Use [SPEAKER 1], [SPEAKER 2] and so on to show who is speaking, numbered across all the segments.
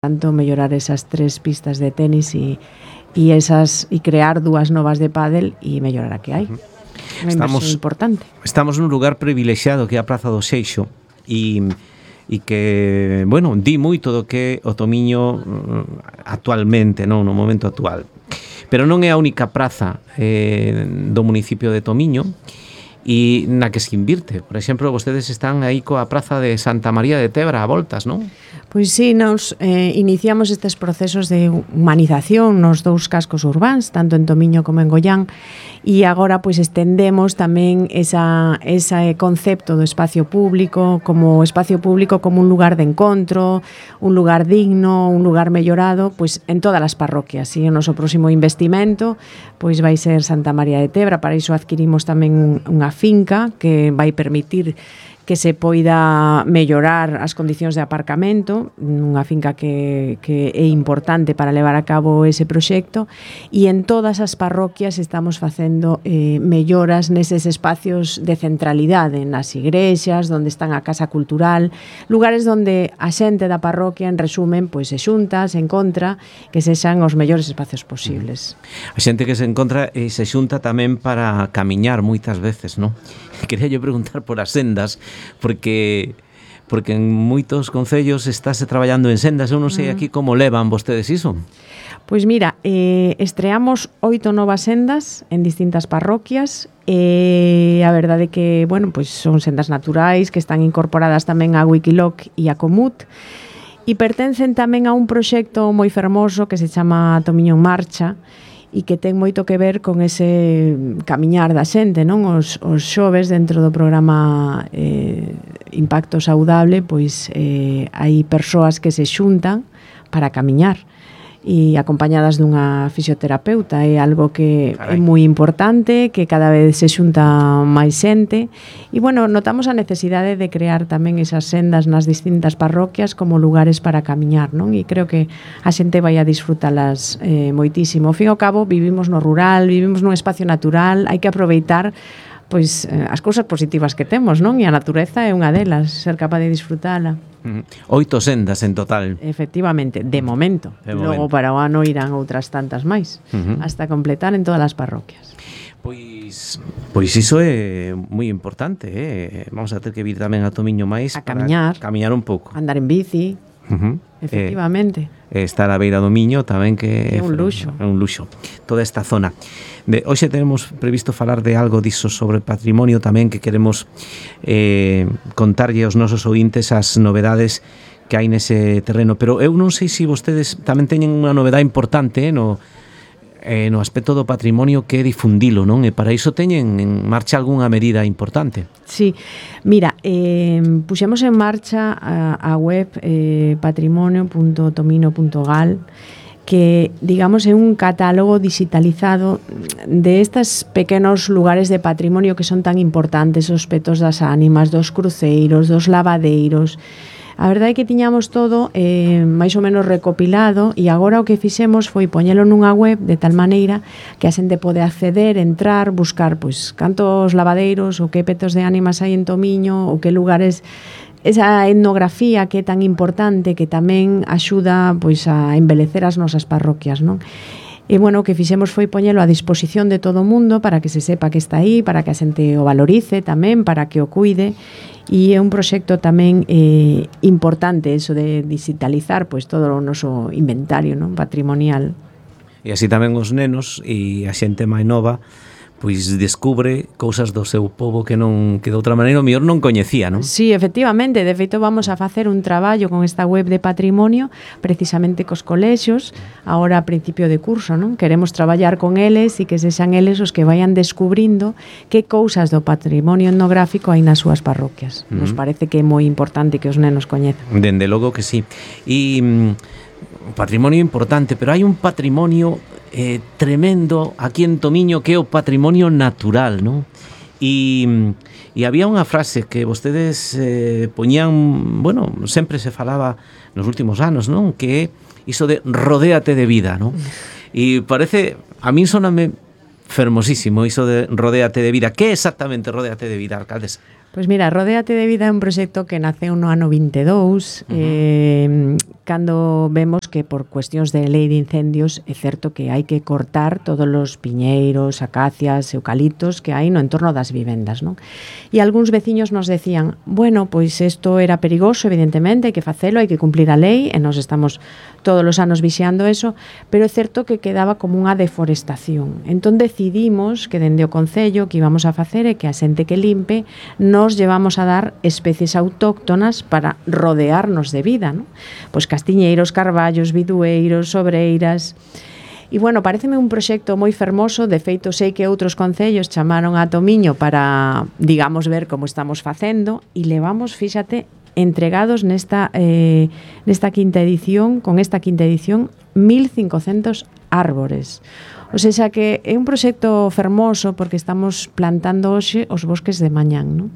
[SPEAKER 1] tanto mellorar esas 3 pistas de tenis e crear 2 novas de pádel e mellorar a que hai. Unha inversión importante.
[SPEAKER 2] Estamos nun lugar privilexiado que é a Praza do Seixo e que, bueno, di moito do que o Tomiño actualmente, non, no momento actual. Pero non é a única praza do municipio de Tomiño e na que se invirte. Por exemplo, vostedes están aí coa praza de Santa María de Tebra a voltas, non?
[SPEAKER 1] Pois sí, nos iniciamos estes procesos de humanización nos 2 cascos urbáns, tanto en Tomiño como en Goián, e agora pois estendemos tamén ese concepto do espacio público como un lugar de encontro, un lugar digno, un lugar mellorado, pois en todas as parroquias. E o noso próximo investimento pois vai ser Santa María de Tebra. Para iso adquirimos tamén unha finca que vai permitir que se poida mellorar as condicións de aparcamento, unha finca que é importante para levar a cabo ese proxecto, e en todas as parroquias estamos facendo melloras neses espacios de centralidade, nas igrexas, onde están a casa cultural, lugares onde a xente da parroquia, en resumen, pois se xunta, se encontra, que sexan os mellores espacios posibles.
[SPEAKER 2] A xente que se encontra e se xunta tamén para camiñar moitas veces, non? Quería yo preguntar por as sendas, porque en moitos concellos estáse traballando en sendas. Eu non sei aquí como levan vostedes iso.
[SPEAKER 1] Pois mira, estreamos 8 novas sendas en distintas parroquias e a verdade que, bueno, pois son sendas naturais que están incorporadas tamén a Wikiloc e a Comut e pertencen tamén a un proxecto moi fermoso que se chama Tomiño en Marcha e que ten moito que ver con ese camiñar da xente, non? Os xoves dentro do programa Impacto Saudable, pois hai persoas que se xuntan para camiñar e acompañadas dunha fisioterapeuta. É algo que é moi importante, que cada vez se xunta máis xente e, bueno, notamos a necesidade de crear tamén esas sendas nas distintas parroquias como lugares para camiñar, non? E creo que a xente vai a disfrutalas moitísimo. Ao fin e ao cabo, vivimos no rural, vivimos nun espacio natural, hai que aproveitar pois as cousas positivas que temos, non? E a natureza é unha delas, ser capaz de disfrutala.
[SPEAKER 2] 8 sendas en total.
[SPEAKER 1] Efectivamente, de momento. Logo para o ano irán outras tantas máis, hasta completar en todas as parroquias.
[SPEAKER 2] Pois iso é moi importante, Vamos a ter que vir tamén a Tomiño máis
[SPEAKER 1] a camiñar,
[SPEAKER 2] un pouco.
[SPEAKER 1] Andar en bici. Efectivamente.
[SPEAKER 2] Estar a beira do Miño tamén que
[SPEAKER 1] é un luxo.
[SPEAKER 2] É un luxo. Toda esta zona. Hoxe tenemos previsto falar de algo diso sobre patrimonio tamén, que queremos contarlle aos nosos ointes as novedades que hai nese terreno, pero eu non sei se vostedes tamén teñen unha novedade importante no aspecto do patrimonio, que é difundilo, non? E para iso teñen en marcha algunha medida importante.
[SPEAKER 1] Sí, mira, puxemos en marcha a web patrimonio.tomino.gal, que, digamos, é un catálogo digitalizado de estes pequenos lugares de patrimonio que son tan importantes, os petos das ánimas, dos cruceiros, dos lavadeiros. A verdade é que tiñamos todo máis ou menos recopilado e agora o que fixemos foi poñelo nunha web de tal maneira que a xente pode acceder, entrar, buscar pois cantos lavadeiros ou que petos de ánimas hai en Tomiño ou que lugares, esa etnografía que é tan importante, que tamén axuda pois a embelecer as nosas parroquias, non? E, bueno, o que fixemos foi poñelo a disposición de todo o mundo para que se sepa que está aí, para que a xente o valorice tamén, para que o cuide. E é un proxecto tamén importante eso de digitalizar pois todo o noso inventario, non, patrimonial.
[SPEAKER 2] E así tamén os nenos e a xente máis nova pois descubre cousas do seu pobo que de outra maneira o mellor non coñecía, non?
[SPEAKER 1] Sí, efectivamente, de feito vamos a facer un traballo con esta web de patrimonio precisamente cos colexios, agora a principio de curso, non? Queremos traballar con eles e que sexan eles os que vayan descubrindo que cousas do patrimonio etnográfico hai nas súas parroquias. Nos parece que é moi importante que os nenos coñezan.
[SPEAKER 2] Dende logo que sí. E un patrimonio importante, pero hai un patrimonio tremendo aquí en Tomiño, que é o patrimonio natural, non? E había unha frase que vostedes poñían, bueno, sempre se falaba nos últimos anos, non? Que é iso de rodéate de vida, non? E parece, a min soname fermosísimo iso de rodéate de vida. Que é exactamente rodéate de vida, alcaldesa?
[SPEAKER 1] Pois mira, Rodéate de Vida é un proxecto que naceu no ano 22, cando vemos que por cuestións de lei de incendios é certo que hai que cortar todos os piñeiros, acacias, eucaliptos que hai no entorno das vivendas, non? E algúns veciños nos decían, bueno, pois isto era perigoso, evidentemente, hai que facelo, hai que cumplir a lei, e nos estamos todos os anos vixiando eso, pero é certo que quedaba como unha deforestación. Entón decidimos que dende o Concello que íbamos a facer é que a xente que limpe nos llevamos a dar especies autóctonas para rodearnos de vida, ¿no? Pois castiñeiros, carballos, bidueiros, sobreiras. E, bueno, pareceme un proxecto moi fermoso, de feito sei que outros concellos chamaron a Tomiño para, digamos, ver como estamos facendo, e levamos, fíxate, entregados nesta quinta edición, con esta quinta edición, 1.500 árbores. O sea que é un proxecto fermoso porque estamos plantando hoxe os bosques de mañán, non?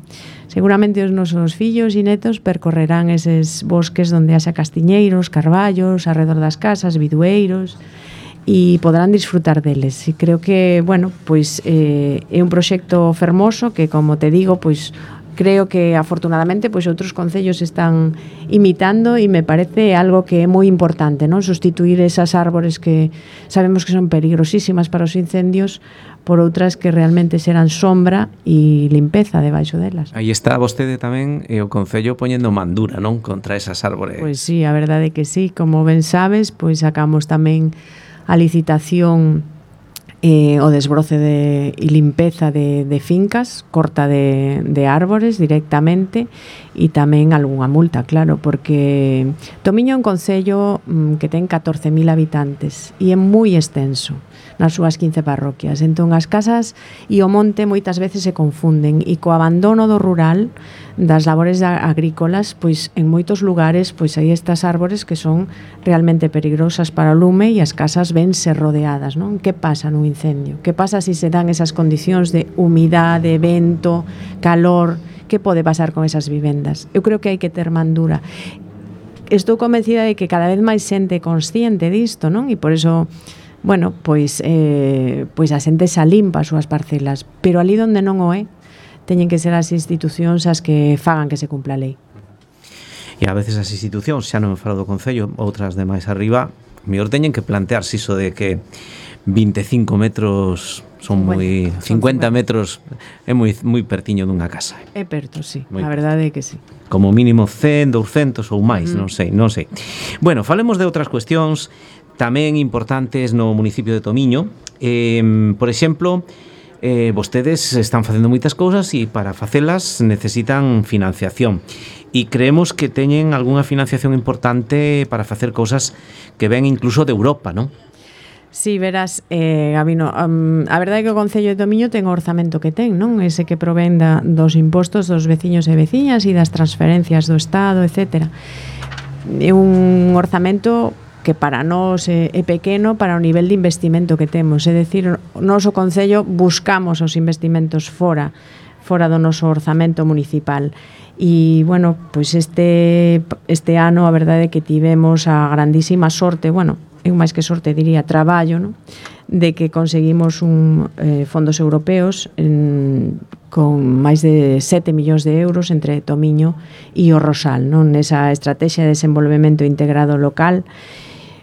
[SPEAKER 1] Seguramente os nosos fillos e netos percorrerán eses bosques onde haxa castiñeiros, carballos, arredor das casas, bidueiros, e poderán disfrutar deles. E creo que, bueno, pois é un proxecto fermoso que, como te digo, pois creo que afortunadamente pois outros concellos están imitando e me parece algo que é moi importante, non? Sustituir esas árbores que sabemos que son peligrosísimas para os incendios por outras que realmente serán sombra e limpeza debaixo delas.
[SPEAKER 2] Aí está vostede tamén e o Concello poñendo mandura, non? Contra esas árbores.
[SPEAKER 1] Pois sí, a verdade que sí, como ben sabes, pois sacamos tamén a licitación o desbroce e limpeza de fincas, corta de árbores directamente e tamén algunha multa, claro, porque Tomiño é un concello que ten 14.000 habitantes e é moi extenso nas súas 15 parroquias. Entón as casas e o monte moitas veces se confunden e co abandono do rural das labores agrícolas, pois en moitos lugares pois hai estas árbores que son realmente peligrosas para o lume e as casas vense rodeadas, non? Que pasa nun incendio? Que pasa se se dan esas condicións de humidade, vento, calor? Que pode pasar con esas vivendas? Eu creo que hai que ter mandura. Estou convencida de que cada vez máis xente consciente disto, non? E por iso, bueno, pois a xente xa limpa as súas parcelas, pero ali onde non o é, teñen que ser as institucións as que fagan que se cumpla a lei.
[SPEAKER 2] E a veces as institucións, xa non me falo do Concello, outras de máis arriba, mellor teñen que plantearse iso de que 25 metros son moi 50 metros é moi pertiño dunha casa.
[SPEAKER 1] É perto, sí, a verdade é que sí.
[SPEAKER 2] Como mínimo 100, 200 ou máis, non sei. Bueno, falemos de outras cuestións tamén importantes no municipio de Tomiño. Por exemplo, vostedes están facendo moitas cousas e para facelas necesitan financiación. E creemos que teñen algunha financiación importante para facer cousas que ven incluso de Europa, non?
[SPEAKER 1] Sí, verás, Gabino, a verdade é que o Concello de Tomiño ten o orzamento que ten, non? Ese que provén dos impostos dos veciños e veciñas e das transferencias do Estado, etc. É un orzamento que para nós é pequeno para o nivel de investimento que temos. É dicir, o noso Concello buscamos os investimentos fora do noso orzamento municipal. E, bueno, pois este ano a verdade é que tivemos a grandísima sorte, bueno, eu máis que sorte diría traballo, non? De que conseguimos fondos europeos con máis de 7 millóns de euros entre Tomiño e o Rosal, non? Nesa estrategia de desenvolvemento integrado local.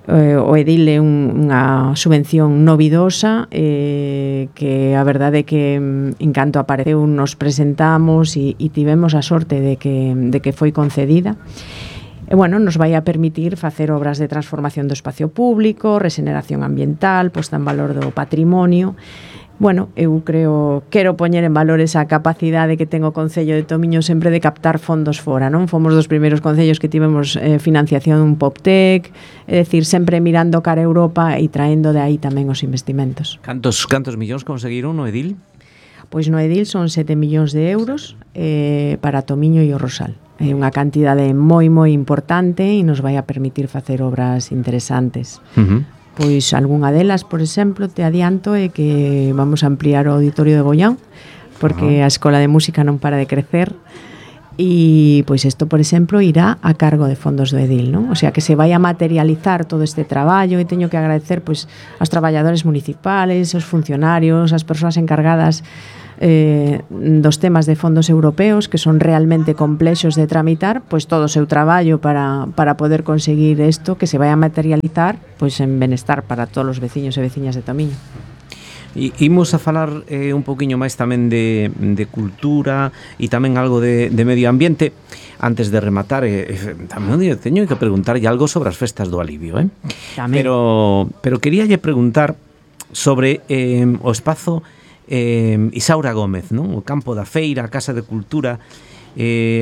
[SPEAKER 1] O edil é unha subvención novidosa que a verdade é que en canto apareceu nos presentamos e tivemos a sorte de que foi concedida. E, bueno, nos vai a permitir facer obras de transformación do espacio público, regeneración ambiental, posta en valor do patrimonio. Bueno, eu quero poñer en valor esa capacidade que ten o Concello de Tomiño sempre de captar fondos fora, non? Fomos dos primeiros concellos que tivemos financiación PopTech, é dicir, sempre mirando cara a Europa e traendo de aí tamén os investimentos.
[SPEAKER 2] Cantos millóns conseguiron no edil?
[SPEAKER 1] Pois no edil son 7 millóns de euros para Tomiño e o Rosal. É unha cantidade moi importante e nos vai a permitir facer obras interesantes. Pois algunha delas, por exemplo, te adianto é que vamos a ampliar o auditorio de Goián, porque a Escola de Música non para de crecer e pois isto, por exemplo, irá a cargo de fondos do edil, non? O sea, que se vai a materializar todo este traballo e teño que agradecer pois aos traballadores municipales, aos funcionarios, as persoas encargadas dos temas de fondos europeos que son realmente complexos de tramitar, pois todo o seu traballo para poder conseguir isto que se vai a materializar pois en benestar para todos os veciños e veciñas de Tomiño.
[SPEAKER 2] E imos a falar un poquinho máis tamén de cultura e tamén algo de medio ambiente. Antes de rematar, tamén teño que preguntarlle algo sobre as festas do Alivio, pero queríalle preguntar sobre o espazo Isaura Gómez, non? O campo da feira, a Casa de Cultura,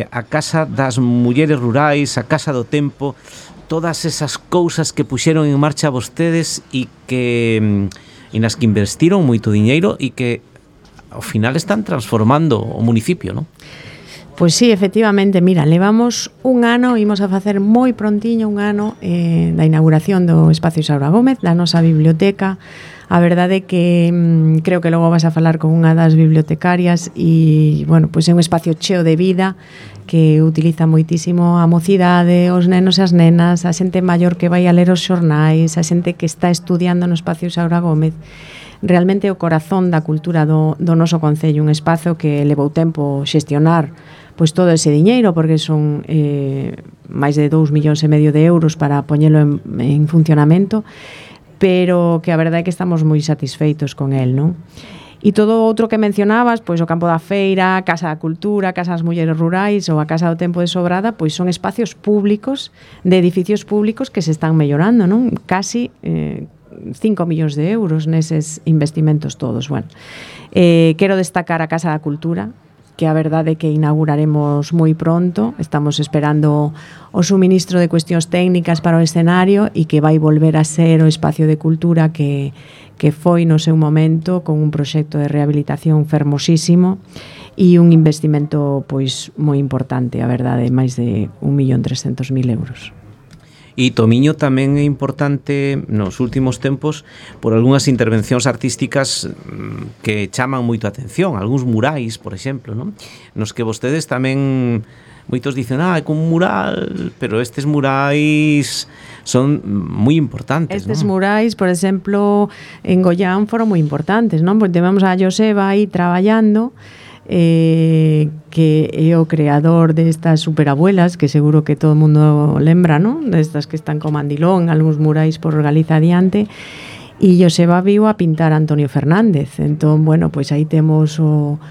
[SPEAKER 2] a Casa das Mulleres Rurais, a Casa do Tempo, todas esas cousas que puxeron en marcha vostedes e nas que investiron moito diñeiro e que ao final están transformando o municipio, non?
[SPEAKER 1] Pois sí, efectivamente, mira, levamos un ano, imos a facer moi prontiño un ano da inauguración do Espacio Isaura Gómez, da nosa biblioteca. A verdade é que creo que logo vas a falar con unha das bibliotecarias e, bueno, pois é un espacio cheo de vida que utiliza moitísimo a mocidade, os nenos e as nenas, a xente maior que vai a ler os xornais, a xente que está estudiando no Espacio Isaura Gómez. Realmente o corazón da cultura do noso concello, un espazo que levou tempo xestionar pois todo ese diñeiro, porque son máis de 2,5 millóns de euros para poñelo en funcionamento, pero que a verdade é que estamos moi satisfeitos con el, non? E todo outro que mencionabas, pois o campo da feira, a Casa da Cultura, a Casa das Mulleres Rurais ou a Casa do Tempo de Sobrada, pois son espacios públicos, de edificios públicos que se están mellorando, non? Casi 5 millóns de euros neses investimentos todos. Bueno, quero destacar a Casa da Cultura, que a verdade é que inauguraremos moi pronto. Estamos esperando o suministro de cuestións técnicas para o escenario e que vai volver a ser o espacio de cultura que foi no seu momento, con un proxecto de rehabilitación fermosísimo e un investimento pois moi importante, a verdade, máis de 1.300.000 euros.
[SPEAKER 2] E Tomiño tamén é importante nos últimos tempos por algunhas intervencións artísticas que chaman moito a atención, algúns murais, por exemplo, non? Nos que vostedes tamén, moitos dicen, é un mural, pero estes murais son moi importantes,
[SPEAKER 1] estes
[SPEAKER 2] non?
[SPEAKER 1] Murais, por exemplo, en Goián foron moi importantes, non? Porque tivemos a Joseba aí traballando, que é o creador destas superabuelas, que seguro que todo o mundo lembra, non? Destas que están co mandilón, algúns murais por Galiza adiante, e Joseba viu a pintar a Antonio Fernández. Entón, bueno, pois aí temos o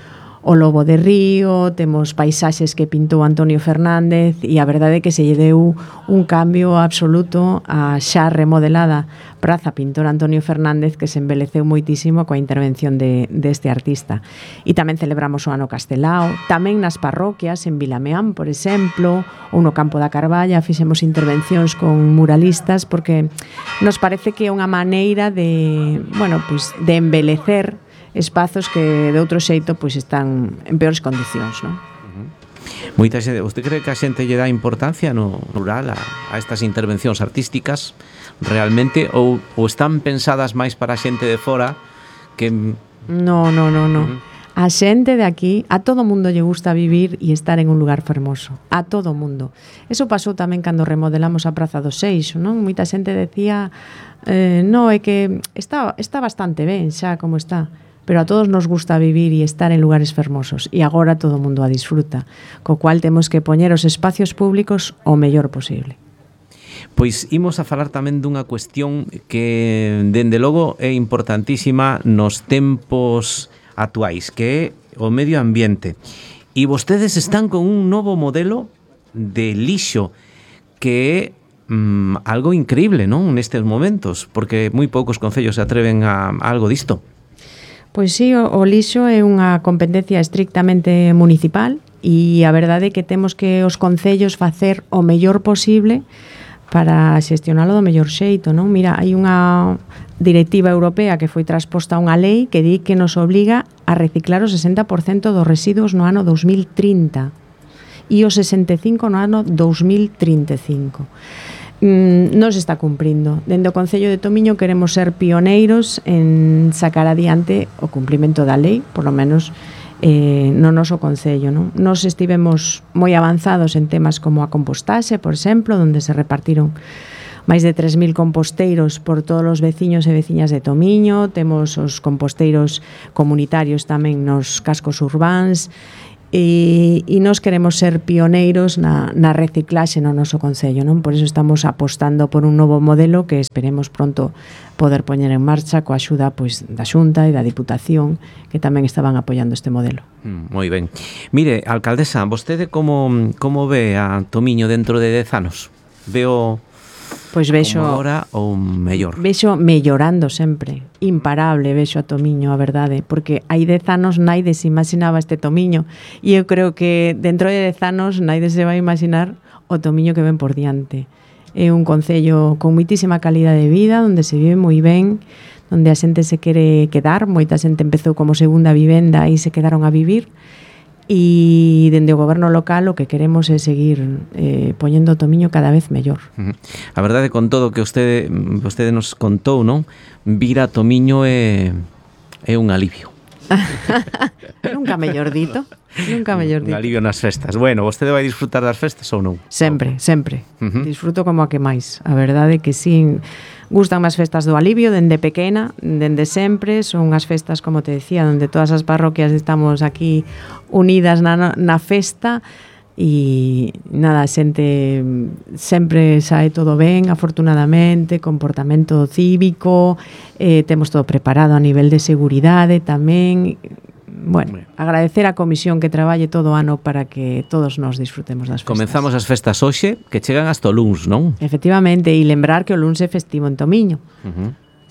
[SPEAKER 1] Lobo de Río, temos paisaxes que pintou Antonio Fernández, e a verdade é que se lle deu un cambio absoluto a xa remodelada Praza Pintor Antonio Fernández, que se embeleceu moitísimo coa intervención deste artista. E tamén celebramos o ano Castelao, tamén nas parroquias, en Vilameán, por exemplo, ou no Campo da Carballa, fixemos intervencións con muralistas, porque nos parece que é unha maneira de, bueno, pois, de embelecer espazos que de outro xeito pois están en peores condicións, non?
[SPEAKER 2] Moita xente, usted cree que a xente lle dá importancia no rural a estas intervencións artísticas realmente ou están pensadas máis para a xente de fora que...
[SPEAKER 1] No. A xente de aquí, a todo mundo lle gusta vivir e estar en un lugar fermoso. A todo mundo. Eso pasou tamén cando remodelamos a Praza do Seixo, non? Moita xente decía, no, é que está bastante ben xa como está, pero a todos nos gusta vivir e estar en lugares fermosos e agora todo o mundo a disfruta, co cual temos que poñer os espacios públicos o mellor posible.
[SPEAKER 2] Pois imos a falar tamén dunha cuestión que, dende logo, é importantísima nos tempos actuais, que é o medio ambiente. E vostedes están con un novo modelo de lixo que é algo increíble, non? Nestes momentos, porque moi poucos concellos se atreven a algo disto.
[SPEAKER 1] Pois sí, o lixo é unha competencia estrictamente municipal e a verdade é que temos que os concellos facer o mellor posible para xestionalo do mellor xeito, non? Mira, hai unha directiva europea que foi transposta a unha lei que di que nos obliga a reciclar o 60% dos residuos no ano 2030 e o 65% no ano 2035. Non se está cumprindo. Dende o Concello de Tomiño queremos ser pioneiros en sacar adiante o cumprimento da lei, por lo menos no noso Concello, non? Nos estivemos moi avanzados en temas como a compostaxe, por exemplo, onde se repartiron máis de 3.000 composteiros por todos os veciños e veciñas de Tomiño, temos os composteiros comunitarios tamén nos cascos urbáns, e nós queremos ser pioneiros na reciclaxe no noso concello, non? Por iso estamos apostando por un novo modelo que esperemos pronto poder poñer en marcha coa axuda pois da Xunta e da Diputación, que tamén estaban apoiando este modelo.
[SPEAKER 2] Moi ben. Mire, alcaldesa, vostede como ve a Tomiño dentro de 10 anos? Veo
[SPEAKER 1] Pois vexo
[SPEAKER 2] como agora ou mellor?
[SPEAKER 1] Vexo mellorando sempre, imparable vexo a Tomiño, a verdade, porque hai 10 anos naide se imaginaba este Tomiño, e eu creo que dentro de 10 anos naide se vai imaginar o Tomiño que ven por diante. É un concello con moitísima calidade de vida, onde se vive moi ben, onde a xente se quere quedar, moita xente empezou como segunda vivenda e se quedaron a vivir, e dende o goberno local o que queremos é seguir poñendo o Tomiño cada vez mellor.
[SPEAKER 2] A verdade, con todo o que vostede nos contou, non? Vir a Tomiño é un alivio.
[SPEAKER 1] Nunca mellor dito. Nunca mellor dito.
[SPEAKER 2] Un alivio nas festas. Bueno, vostede vai disfrutar das festas ou non?
[SPEAKER 1] Sempre, sempre. Disfruto como a que máis. A verdade é que sí, gustan as festas do alivio dende pequena, dende sempre. Son as festas, como te decía, onde todas as parroquias estamos aquí unidas na festa. E nada, a xente sempre sae todo ben, afortunadamente, comportamento cívico, temos todo preparado a nivel de seguridade tamén. Bueno, agradecer a comisión que traballe todo o ano para que todos nos disfrutemos das festas.
[SPEAKER 2] Comenzamos as festas hoxe, que chegan hasta o luns, non?
[SPEAKER 1] Efectivamente, e lembrar que o luns é festivo en Tomiño.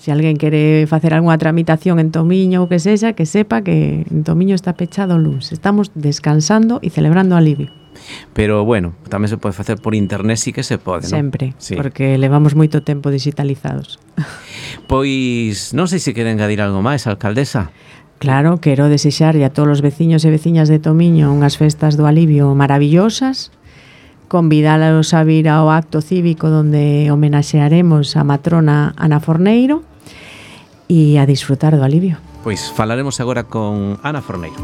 [SPEAKER 1] Se alguén quere facer algunha tramitación en Tomiño ou que sexa, que sepa que en Tomiño está pechado o luns. Estamos descansando e celebrando o alivio.
[SPEAKER 2] Pero, bueno, tamén se pode facer por internet, sí que se pode, non?
[SPEAKER 1] Sempre,
[SPEAKER 2] sí.
[SPEAKER 1] Porque levamos moito tempo digitalizados.
[SPEAKER 2] Pois, non sei se quere engadir algo máis, alcaldesa.
[SPEAKER 1] Claro, quero desexarlle a todos os veciños e veciñas de Tomiño unhas festas do alivio maravillosas, convidalos a vir ao acto cívico donde homenaxearemos a matrona Ana Forneiro e a disfrutar do alivio.
[SPEAKER 2] Pois falaremos agora con Ana Forneiro.